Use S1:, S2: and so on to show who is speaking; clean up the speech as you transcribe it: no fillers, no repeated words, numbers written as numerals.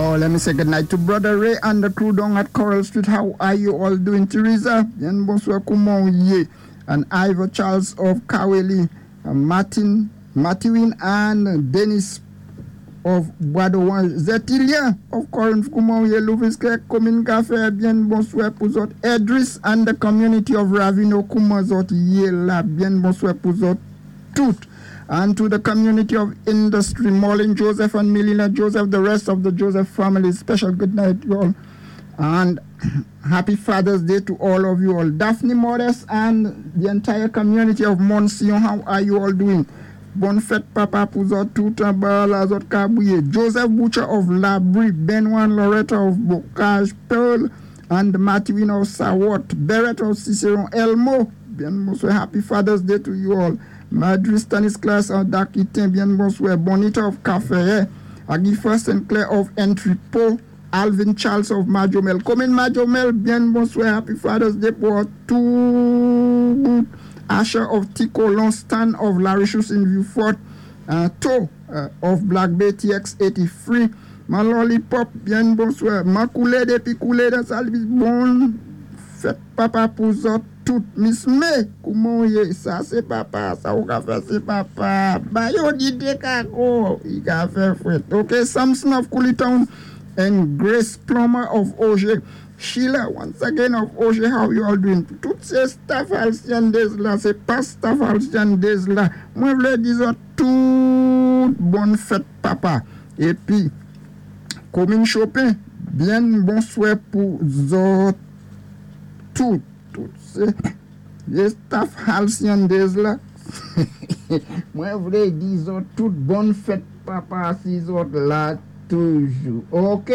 S1: Oh, let me say good night to Brother Ray and the crew down at Coral Street. How are you all doing, Teresa? Byen bonswa, kouman ou yé? And Ivor Charles of Kaweli, Martin, Mathurin and Dennis of Bois Zetilien of Corinth, kouman ou yé? Louvis Clerc, komin Kafé, byen bonswa pou zòt. Edris and the community of Ravino, kouman zòt yé la? Byen bonswa pou zòt tout. And to the community of industry, Marlene Joseph and Melina Joseph, the rest of the Joseph family, special good night, you all. And happy Father's Day to all of you all. Daphne Modest and the entire community of Monsion, how are you all doing? Bòn fèt papa pou zòt tout anba la zòt kabwiye. Joseph Butcher of Labrie, Benoit Loretta of Bocage, Pearl and Mathurin of Sawot, Barrett of Ciceron, Elmo, byen bonswa, happy Father's Day to you all. Madrid Stanislas of Dakitin, byen bonswa, Bonita of Café, Agifa Sinclair of Entrepot, Alvin Charles of Majomel. Komin Majomel, byen bonswa, happy Father's Day pou tout. Asher of Ticolon, Stan of Larichus in Vieux-Fort, To of Black Bay TX 83. Man Lollipop, byen bonswa. Man koulé dépi koulé dan salvis bon fèt papa pou zòt tout. Miss May, kouman ou yé? Sa sé papa, sa ou ka fè sé papa. Ba yo di dekako, i ka fè fwèt. Ok, Samson of Town and Grace Plummer of Auger. Sheila, once again of Auger, how you all doing? Tout sé staff Halcyon Days la, sé pa staff Halcyon Days la. Mwen vlé di zòt tout bòn fèt papa. Épi, komin Chopin, byen bonswa pou zòt tout. Tout sé staff Halcyon Days la. Mwen vlé di zòt tout bòn fèt papa si zòt la toujou. Ok?